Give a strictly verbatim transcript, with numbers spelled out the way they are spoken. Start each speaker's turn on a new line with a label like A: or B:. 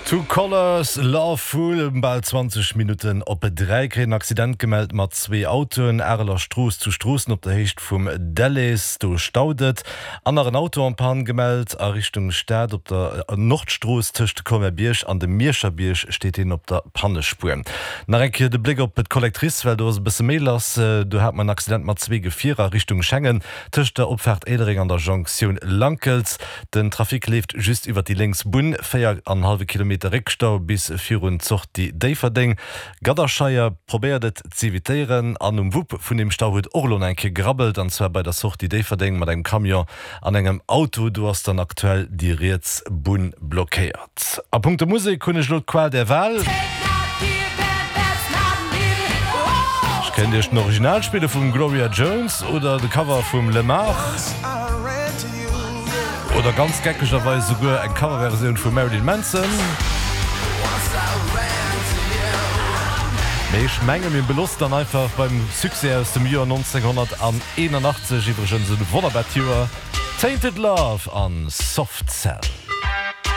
A: Two Colours, Lovefool. Bal zwanzeg Minutten op dräi kréien en Accident gemellt mat zwee Autoen. Areler Strooss zu Stroossen op der Héicht vum Delles, do staut et. An nach en Auto en panne gemellt a Richtung Stad op der Nordstrooss tëscht Colmer-Bierg an dem Mierscher Bierg steet een op der Pannespuer. Nach eng Kéier de Bléck op d'Collectrice, well do ass e bësse méi lass. Do hat mer en Accident mat zwee Gefierer Richtung Schengen, tëscht der Opfaart Éilereng an der Jonktioun Lankels. Den Trafic leeft just iwwer déi lénks Bunn. Véier an hallwe Kilometer Réckstau bis virun d'Sortie Déifferdeng. Gadderscheier probéiert et z'evitéieren an um Wupp vun deem Stau huet och elo nach eng Kéier gerabbelt, an zwar bei der Sortie Déifferdeng mat engem Camion an engem Auto. Do ass dann aktuell déi riets Bunn blockéiert. A punkto Musek hunn ech elo d'Qual der Wahl. Ech kéint iech den Original spille vum Gloria Jones oder de Cover vum Lemar oder ganz geckegerweis esouguer eng Coverversioun vum Marilyn Manson. Mee ech menge mir beloossen dann einfach beim Succès aus dem Joer neunzehnhunderteinundachtzeg, iwwregens e wonnerbart Joer, Tainted Love an Soft Cell.